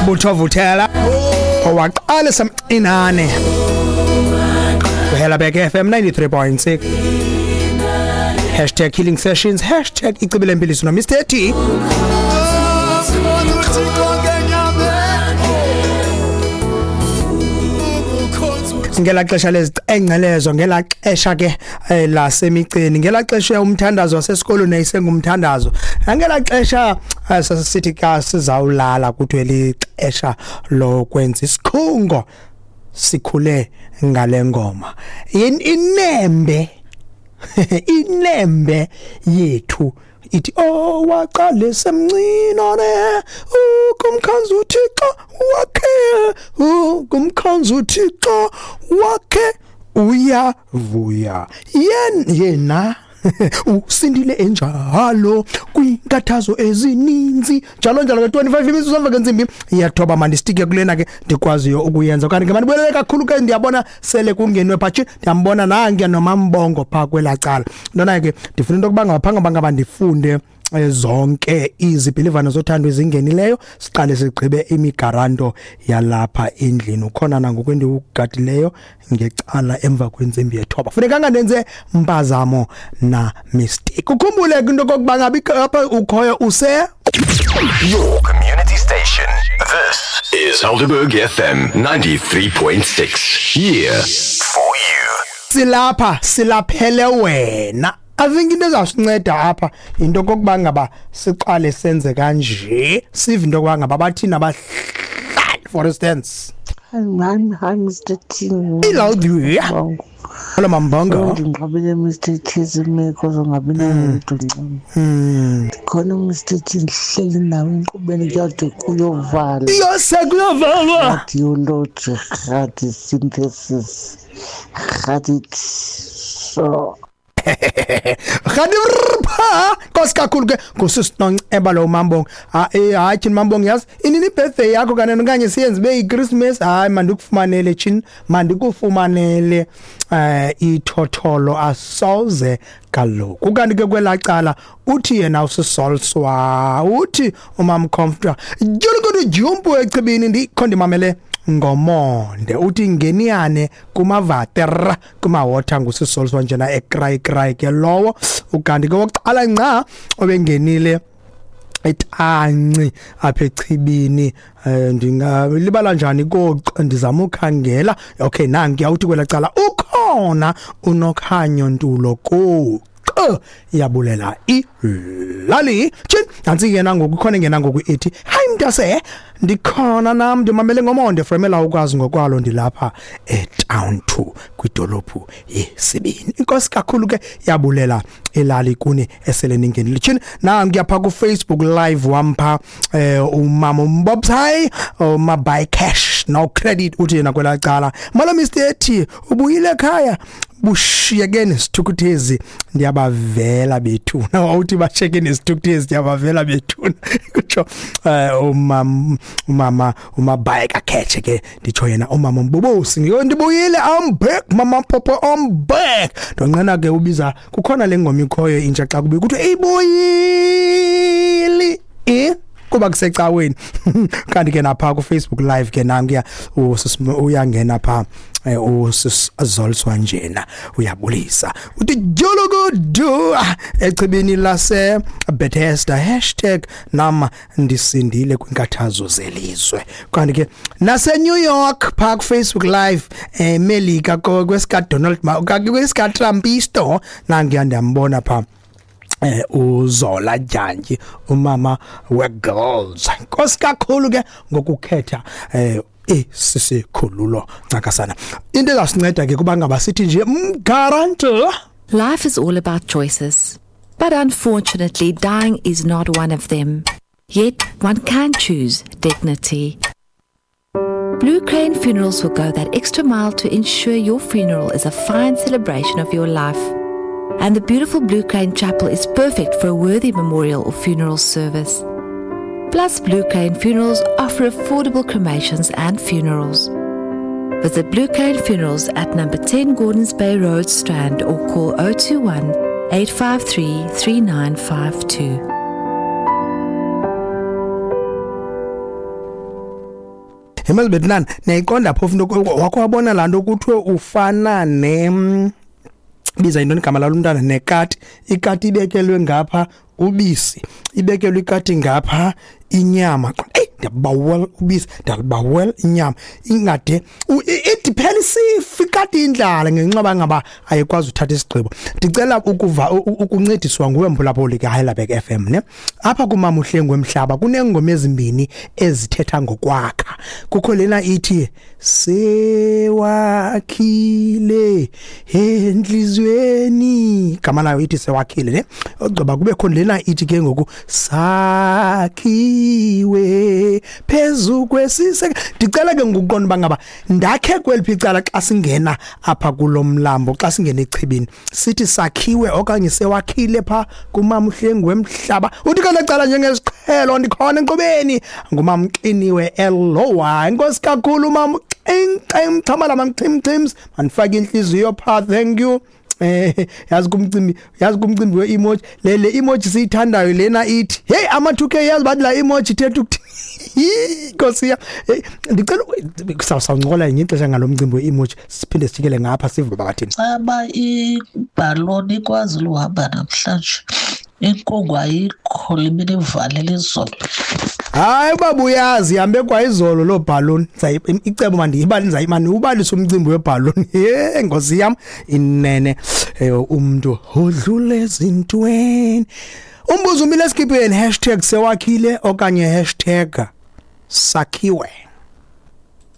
Mbutho Vuthela owaqala semcinane Helabek FM 93.6 #HealingSessions #Icibile no Mr T. Ngela xesha lezicengcelezo, ngela xesha ke lasemiceni, ngela xesha umthandazo wasesikolweni ayisengumthandazo, ngela xesha sasithi ka sizawulala kuthiwe lixesha lokwenza isikhungo, sikhule ngale ngoma. Inembe inembe yethu ithi oh waqale semncinane ukumkhanza uThixo wakhe, ukumkhanza uThixo wakhe uyavuya yena usindile enjalo kwinkathazo ezininzi njalo njalo. Ke 25 minutes emva kwentsimbi iyathoba, mandistike kulena ke ndikwaziyo ukuyenza. Kanti ke mandibuyelele kakhulu ke, ndiyabona sele kungenwe phathi, ndiyambona nange nomambongo pha kwelaa cala. Ntona ke ndifuna into yokuba ngaphambi ngaba ndifunde zonke izibhilivana zothando ezingenileyo, siqale sigqibe imigaranto yalapha endlini. Ukhona nangoku endiwugadileyo ngecala emva kwentsimbi yethoba, funeka ndenze mpazamo na mistake. Ukhumbule into kokuba ngabe apha ukhoyo use Your community station. This is Helderberg FM 93.6. Here for you. Silapha silaphele wena. I think into ezawusinceda apha into kokuba ngaba siqale senze kanje, sive into yokuba ngaba bathini abahlali, for instance. Hi, hi, Mr. T. Ilawudiya. Hello Mambongo. Ndinqabile Mr. T zimeko zongabi nayo ncam. Khona Mr. T ndihleli nawe enkqubeni kuyade kuyovala. Yose kuyovalwa. Radiology, radiosynthesis, radiso. Rhadirpha Nkosi kakhulu ke ngusisinonceba lo Mambongo. Hayi tyhini Mambongo, yazi inini ibirthday yakho kanene okanye siyenze ibe yiChristmas? Hayi mandikufumanele tyhini, mandikufumanele ithotholo asoze kaloku. Kanti ke kwelaa cala uthi yena usisolswa, uthi umam Comforter julukudu jumpu echibini ndikho ndimamele ngomonde, uthi ngeniyane kumavater kumawotha ngusisolswa njena ekray kray ke lowo. Ukanti ke wokuqala nca obengenile etanci apha echibini, ndingalibala njani koxa ndizama ukhangela. Okay, nanki awuthi kwela cala ukhona unokhanyo ntulo ko iyabulela ilali tshini. Nantsi yena ngoku ikhona ingena ngoku ithi hayi mntase ndikhona nam ndimamele ngomonde fremela ukwazi ngokwalo ndilapha etown 2 kwidolophu yesibini. Inkosi kakhulu ke yabulela ilali kuni esele ningenile tshini. Nanku yapha ku Facebook live wampha umama umbobsai uma buy cash no credit, uthi yena kwela cala malo Mr T ubuyile ekhaya bushiyeke nesithukuthezi ndiyabavela bethuna. Awuthi bashiyeke nesithukuthezi ndiyabavela bethuna, kutsho umama umabhayeka khethe ke nditsho yena umama Mbubusi, ndibuyile, I'm back mama Popo, I'm back. Ndonqena ke ubiza kukhona le ngoma ikhoyo intsha xa kubi kuthiwe ibuyile kuba kusecaweni. Kanti ke napha ku Facebook live ke nankuya uyangena pha usizolswa njena uyabulisa uthi julukudu echibini lase Bethesda #nam ndisindile kwinkathazo zelizwe. Kanti ke nase New York pha ku Facebook live eMelika kwesika Donald kwesika Trumpisto nankuya ndiyambona pha uZola Jantyi umama we-girls. Nkosi kakhulu ke ngokukhetha esisikhululo ncakasana. Into ezasinceda ke kuba ngaba sithi nje mgaranto. Life is all about choices, but unfortunately dying is not one of them. Yet one can choose dignity. Blue Crane Funerals will go that extra mile to ensure your funeral is a fine celebration of your life. And the beautiful Blue Crane Chapel is perfect for a worthy memorial or funeral service. Plus, Blue Crane Funerals offer affordable cremations and funerals. Visit Blue Crane Funerals at number 10 Gordons Bay Road, Strand, or call 021 853 3952. Yemazi betinani niyayiqonda phofu into wakho wabona laa nto kuthiwe ufana ne biza yintoni igama lalo mntana nekati. Ikati ibekelwe ngapha ubisi, ibekelwe ikati ngapha inyama. Eyi, ndiyabawela ubisi, ndiyalibawela inyama. Ingade ithi phela isifa ikati indlala ngenxa yoba ngaba ayikwazi uthatha isigqibo. Ndicela ukuva ukuncediswa nguwe mphulaphuli kaHeidelberg FM ne. Apha kumama uHlengu wemhlaba kuneengoma ezimbini ezithetha ngokwakha. Kukho lena ithi sewakhile enhliziyweni, igama layo ithi sewakhile ne. Ogqiba kubekho lena ithi ke ngoku sakhiwe phezu kwesiseke. Ndicela ke ngokuqonda uba ngaba ndakhe kweliphi icala xa singena apha kulo mlambo, xa singena echibini, sithi sakhiwe okanye sewakhile pha kumama uHlengu wemhlaba. Uthi ke lecala njengesiqhelo ndikhona enkqubeni ngumama Xiniwe Elowa. Enkosi kakhulu mama Xing xhamala mamchimchims, mandifake inhliziyo pha, thank you. Yazi kumcimbi, yazi kumcimbi we-emoji le emoji siyithandayo lena ithi hey ama 2K, yazi bathi la emoji ithetha ukuthi Nkosi yam. Hey, ndicela sawuncokola ngenye ixesha ngalo mcimbi we-emoji, siphinde sijikele ngapha sive babathini. Caba ibhaloni ikwazi luhamba namhlanje, inkungu ayikho, limini ivalele izolo. Hayi baba uyazi ihambe kwayizolo loo bhaloni. Icebo mandiyibali mandiwubalise umcimbi webhaloni. Ye Nkosi yam inene umntu odlule ezintweni. Umbuzo umile esikipeni, #sewakhile okanye #sakhiwe.